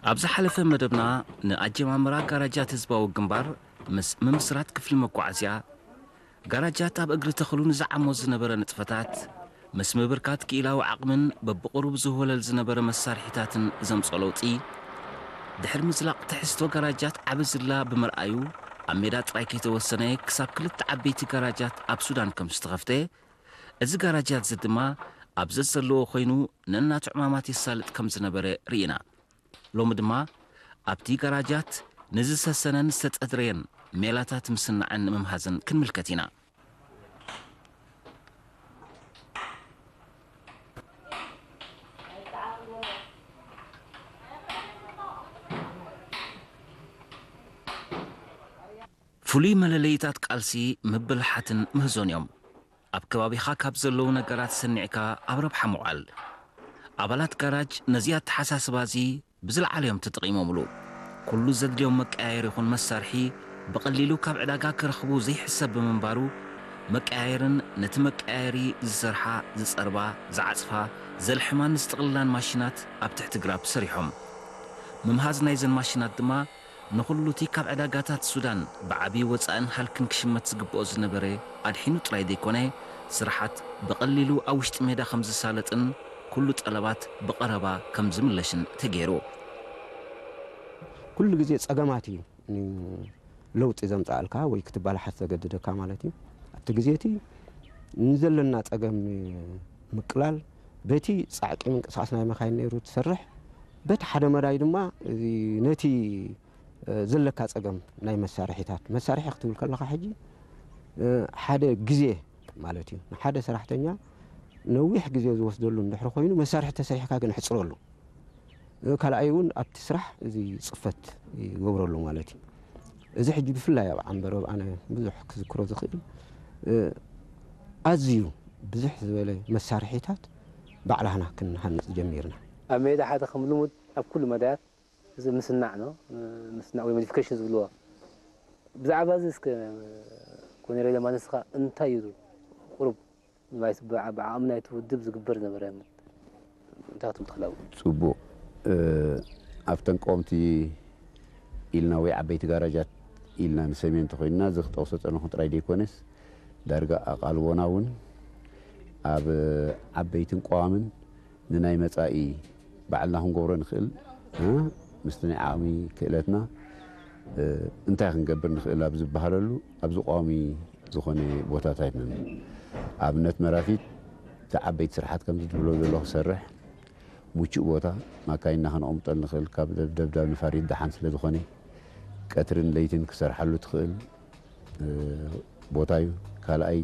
ኣብ ዝሓለፈ መደብና ንኣጀማምራ ጋራጃት ህዝባዊ ግንባር ምስ ምምስራት ክፍሊ መጓዓዝያ፣ ጋራጃት ኣብ እግሪ ተኽሉ ንዝዓሞ ዝነበረ ንጥፈታት፣ ምስ ምብርካት ክኢላዊ ዓቕምን በብቕሩብ ዝህወለል ዝነበረ መሳርሒታትን ዘምጽኦ ለውጢ፣ ድሕሪ ምዝላቕ ትሕዝቶ ጋራጃት ዓቢ ዝላ ብምርኣዩ፣ ኣብ ሜዳ ጥራይ ከይተወሰነ ክሳብ ክልተ ዓበይቲ ጋራጃት ኣብ ሱዳን ከም ዝተኸፍተ፣ እዚ ጋራጃት እዚ ድማ ኣብ ዘዘለዎ ኮይኑ ነናቱ ዕማማት የሳልጥ ከም ዝነበረ ርኢና። ሎሚ ድማ ኣብቲ ጋራጃት ንዝሰሰነን ዝተጸድረየን ሜላታት ምስናዕን ምምሃዝን ክንምልከት ኢና። ፍሉይ መለለይታት ቃልሲ ምብልሓትን ምህዞን እዮም። ኣብ ከባቢኻ ካብ ዘለዉ ነገራት ሰኒዕካ ኣብ ረብሓ ምውዓል። ኣባላት ጋራጅ ነዚ ኣተሓሳስባ እዚ ብዝለዓለ እዮም ተጠቒሞምሉ። ኩሉ ዘድልዮም መቀያየሪ ይኹን መሳርሒ ብቐሊሉ ካብ ዕዳጋ ክረኽቡ ዘይሕሰብ ብምንባሩ፣ መቀያየርን ነቲ መቀያየሪ ዝሰርሓ፣ ዝጸርባ፣ ዝዓጽፋ፣ ዘልሕማን ዝጥቕልላን ማሽናት ኣብ ትሕቲ ግራብ ሰሪሖም። ምምሃዝ ናይዘን ማሽናት ድማ ንኹሉ እቲ ካብ ዕዳጋታት ሱዳን ብዓቢ ወጻእን ሃልክን ክሽመት ዝግብኦ ዝነበረ ኣድሒኑ ጥራይ ዘይኮነ፣ ስራሓት ብቐሊሉ ኣብ ውሽጢ ሜዳ ከም ዝሳለጥን ኩሉ ጠለባት ብቐረባ ከም ዝምለሽን ተገይሩ። ኩሉ ግዜ ጸገማት እዩ ን-፣ ለውጢ ዘምጽኣልካ ወይ ክትበላሓት ዘገድደካ ማለት እዩ። ኣብቲ ግዜ እቲ ንዘለና ጸገም ንምቅላል በቲ ጻዕቂ ምንቅስቓስ ናይ መካይን ነይሩ ትሰርሕ፣ በቲ ሓደ መዳይ ድማ እዚ ነቲ፣ እ፣ ዘለካ ጸገም ናይ መሳርሒታት፣ መሳርሒ ክትብል ከለኻ ሕጂ፣ እ፣ ሓደ ግዜ ማለት እዩ። ንሓደ ሰራሕተኛ ነዊሕ ግዜ ዝወስደሉ እንድሕሪ ኮይኑ መሳርሒ ተሰሪሕካ ግን ኣሕጽረሉ። እ፣ ካልኣይ እውን ኣብቲ ስራሕ እዚ ጽፈት ይገብረሉ ማለት እዩ። እዚ ሕጂ ብፍላይ ኣብ ዓንበረብ ኣነ ብዙሕ ክዝክሮ ዝኽእል፣ እ፣ ኣዝዩ ብዝሕ ዝበለ መሳርሒታት ባዕላህና ክንሃንጽ ጀሚርና። ኣብ ሜዳ ሓደ ከም ልሙድ ኣብ ኩሉ መዳያት እዚ ምስናዕ ነው። ምስናዕ ወይ ሞዲፊኬሽን ዝብልዎ። ብዛዕባ እዚ እስከ ኮኔሬለ ማነስኻ እንታይ እዩ ቁሩብ ንባይ-፣ ብዓ-፣ ብዓቕሚ ናይቲ ውድብ ዝግበር ዝነበረ እንታይ ክትብል ትኽእል? ጽቡቕ። እ፣ ኣብተን ቀወምቲ ኢልና ወይ ዓበይቲ ጋራጃት ኢልና ንሰምየን እንተኾይንና፣ እዚ ክጠቕሶ ጸነኹ ጥራይ ዘይኮነስ፣ ዳርጋ ኣቓልቦና እውን ኣብ ዓበይትን ቀዋምን ንናይ መጻኢ ባዕልና ክንገብሮ ንኽእል፣ እ፣ ምስቲ ናይ ዓቕሚ ክእለትና፣ እ፣ እንታይ ክንገብር ንኽእል ኣብ ዝበሃለሉ፣ ኣብዚ ቀዋሚ ዝኾነ ቦታታት ኢና። ኣብነት መራፊት፣ እቲ ዓበይቲ ስራሓት ከምዚ ትብሎ ዘሎ ክሰርሕ፣ ምቹእ ቦታ፣ ማካይንና ከነቐምጠሉ ንኽእል፣ ካብ ደብ-፣ ደብዳብ ንፋሪት ደሓን ስለ ዝኾነ፣ ቀትርን ለይትን ክሰርሓሉ ትኽእል፣ እ፣ ቦታ እዩ። ካልኣይ፣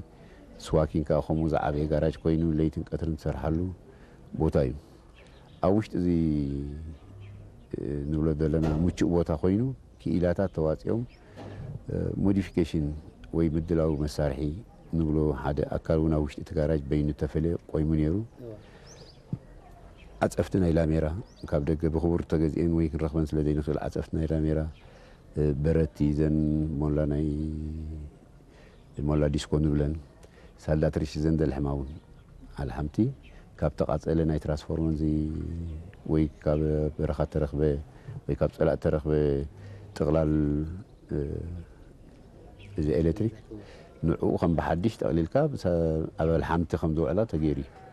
ስዋኪን ከኣ ከምኡ ዝዓበየ ጋራጅ ኮይኑ፣ ለይትን ቀትርን ትሰርሓሉ ቦታ እዩ። ኣብ ውሽጢ እዚ፣ እ፣ ንብሎ ዘለና ምቹእ ቦታ ኮይኑ፣ ክኢላታት ተዋጺኦም፣ እ፣ ሞዲፊኬሽን ወይ ምድላው መሳርሒ ንብሎ ሓደ ኣካል እውን ኣብ ውሽጢ እቲ ጋራጅ በይኑ ተፈልየ ቆይሙ ነይሩ። እዋ። ዓጸፍቲ ናይ ላሜራ፣ ካብ ደገ ብኽቡር ተገዚኤን ወይ ክንረኽበን ስለ ዘይንኽእል፣ ዓጸፍቲ ናይ ላሜራ፣ እ፣ በረቲ፣ ዘን ሞላ ናይ ሞላ ዲስኮ ንብለን፣ ሳልዳትሪሽ፣ ዘን ዘልሕማ እውን ኣልሓምቲ፣ ካብ ተቓጸለ ናይ ትራንስፎርመር እዚ ወይ ካብ በረኻ ተረኽበ ወይ ካብ ጸላእ ተረኽበ ጥቕላል፣ እ፣ እዚ ኤሌክትሪክ ንዕኡ ከም ብሓድሽ ጠቕሊልካ ብሰ-፣ ኣብ ኣልሓምቲ ከም ዝውዕላ ተገይሩ እዩ።